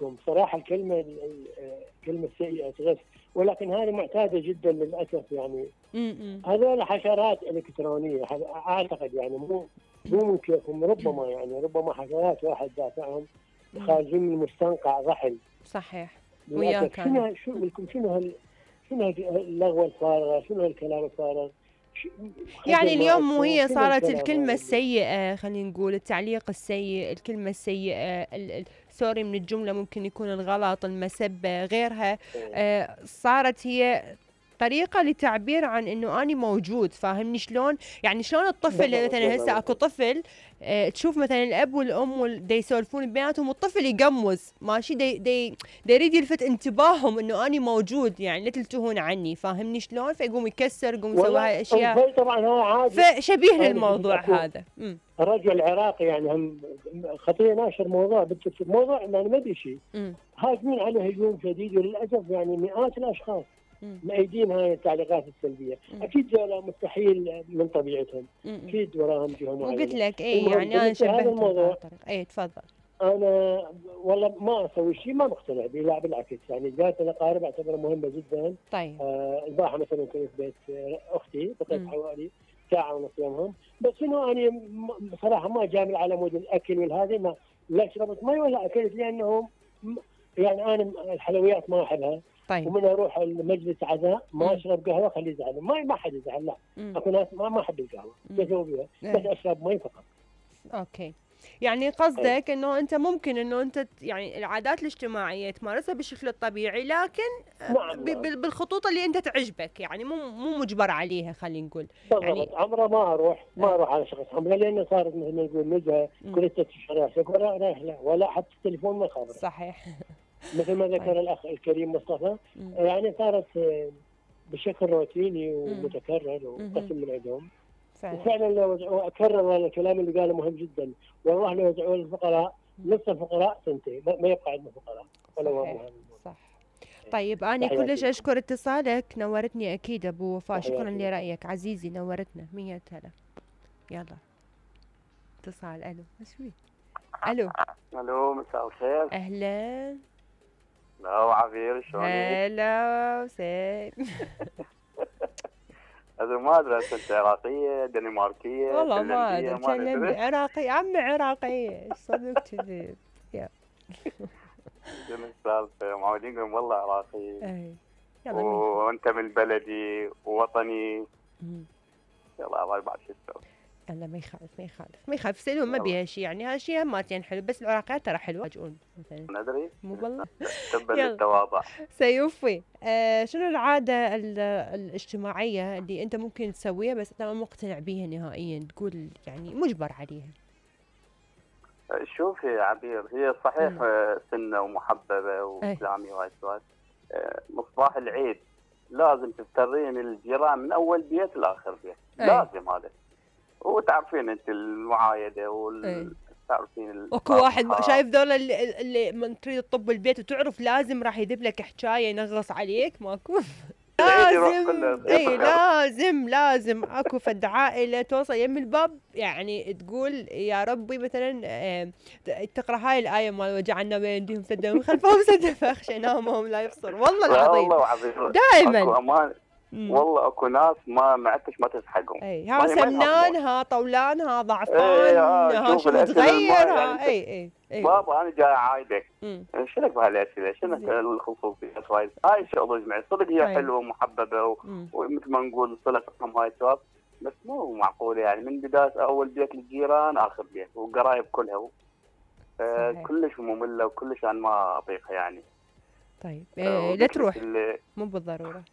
عندكم صراحه الكلمه السيئه تغث، ولكن هذه معتاده جدا للاسف يعني. هذول حشرات الكترونيه اعتقد يعني مو من كيفهم، ربما حشرات واحد دافعهم خارجين من مستنقع ضحل. صحيح. وياك شنو اللغوه الفارغه، شنو الكلام الفارغ. يعني اليوم مو هي صارت الكلمة السيئة، خلينا نقول التعليق السيء، الكلمة السيئة، سوري من الجملة ممكن يكون الغلط، المسبة، غيرها. صارت هي طريقة لتعبير عن انه اني موجود. فاهمني شلون؟ يعني شلون الطفل مثلا هسه اكو طفل تشوف مثلا الاب والام دا يسولفون بيناتهم والطفل يقمز ماشي دا يريد يلفت انتباههم انه اني موجود، يعني لا تلتهون عني. فاهمني شلون؟ فيقوم يكسر، يقوم يسوي هاي الاشياء. طبعا هو عادي، فشبيه للموضوع هذا. الرجل العراقي يعني هم خطير ناشر موضوع يعني ما ادري شيء، هاجمين عليه هجوم شديد، وللاسف يعني مئات الاشخاص مأيدين هاي التعليقات السلبيه. اكيد ذولا مستحيل من طبيعتهم، اكيد وراهم جهه معينه. وقلت لك يعني انا شبهت الموضوع. تفضل. انا والله ما اسوي شيء ما مقتنع به، لا بالعكس يعني زياره الاقارب اعتبرها مهمه جدا. طيب البارحه مثلا كنت في بيت اختي، بقيت حوالي ساعه ونص يومهم، بس انه انا بصراحه ما جامل على مود الاكل والهذا، لا شربت مي ولا اكلت، لانه يعني انا الحلويات ما احبها. طيب. ومن اروح المجلس عزاء ما اشرب قهوه خليه يزعل، ما حد يزعل، لا. اكو ناس ما احب القهوه بسوي بيها، بس اشرب مي فقط. اوكي. يعني قصدك انه انت ممكن انه انت يعني العادات الاجتماعيه تمارسها بالشكل الطبيعي، لكن نعم. بالخطوط اللي انت تعجبك، يعني مو مجبر عليها خلينا نقول. يعني عمره ما اروح على شخص عمره، لانه صارت مثل ما نقول نزهه كل 6 شهور رايح لا، ولا حتى التليفون ما خابره. صحيح. مثل ما ذكر الاخ الكريم مصطفى، يعني صارت بشكل روتيني ومتكرر وقسم من عندهم. وفعلا لو اكرر الكلام اللي قاله مهم جدا، والله لو وزعوا للفقراء نصف الفقراء سنتين ما يبقى عندنا فقراء ولا هو. صح. طيب انا كلش اشكر اتصالك، نورتني اكيد ابو وفاء. شكرا لرايك عزيزي، نورتنا 100 هلا. يلا اتصال. الو مشوي. الو مساء الخير. اهلا. لا عبير شلونك؟ هلا وسهلا. هذا ما ادري انت عراقيه دنماركيه والله ما ادري، كلمني عراقي عمي عراقيه صدق كذب. يا شنو السالفه؟ معودين نقول والله عراقي. اي وانت من بلدي ووطني. يلا الله بعد شو تسوي. لا ما يخالف سلوم ما بيها شيء، يعني هالشيء هماتين حلو، بس العراقيات ترى حلوه يجون مثلا. ندري مو والله. تبا للتواضع. سيوفي شنو العاده الاجتماعيه اللي انت ممكن تسويها بس انت ما مقتنع بيها نهائيا، تقول يعني مجبر عليها؟ شوفي يا عبير، هي صحيح سنه ومحببه واسلامي وهاي السوالف. مصباح العيد لازم تفترين الجيران من اول بيت لاخر بيت. لازم هذا. وتعرفين انت المعايده تعرفين اكو واحد شايف ذول اللي من تريد تطب البيت وتعرف لازم راح يذب لك حكايه ينغص عليك، ماكو. لازم اكو فد عائله توصل يم الباب يعني تقول يا ربي مثلا تقرا هاي الايه مال وجعلنا بين ايديهم سدا ومن خلفهم سدا فاخشيناهم لا يبصر. والله العظيم دائما والله اكو ناس ما عدتش ما تسحقهم. ها سمنان، ها طولان، ها ضعفان، ها شو متغير، ها اي بابا انا جاي عايدك. شنو بهالاسئله؟ شنو الخصوصيات هاي الشغله جمعي صدق هي حلوه ومحببه ومثل ما نقول صله رحم هاي السوالف، بس مو معقوله يعني من بدايه اول بيت للجيران اخر بيت والقرايب كلها. كلش ممله وكلش انا ما اطيقها يعني. طيب لا تروح مو بالضروره.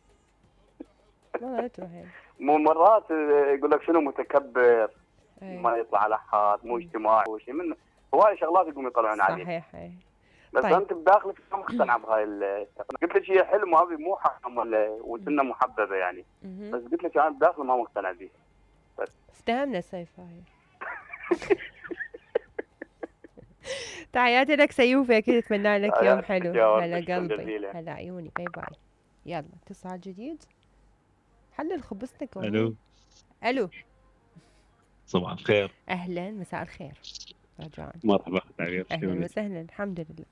لا تروح يعني. مو مرات يقول لك شنو متكبر، ما يطلع على حد، مو اجتماعي وشيء من هواي شغلات يقوموا يطلعون عليه. صحيح. بس طيب. انت بداخلك ما مقتنع بهاي قلت لك هي حلم هذه مو حرام وسنه محببه يعني. بس قلت لك انا بداخلي ما مقتنع بيه. بس افتهمنا سيف هاي. تحياتي لك سيوفي، اكيد اتمنى لك يوم حلو. هلا قلبي، هلا عيوني، باي باي. يلا اتصال جديد. حلل خبزتك. الو صباح الخير. اهلا مساء الخير. رجاء مرحبا. اهلا وسهلا. الحمد لله.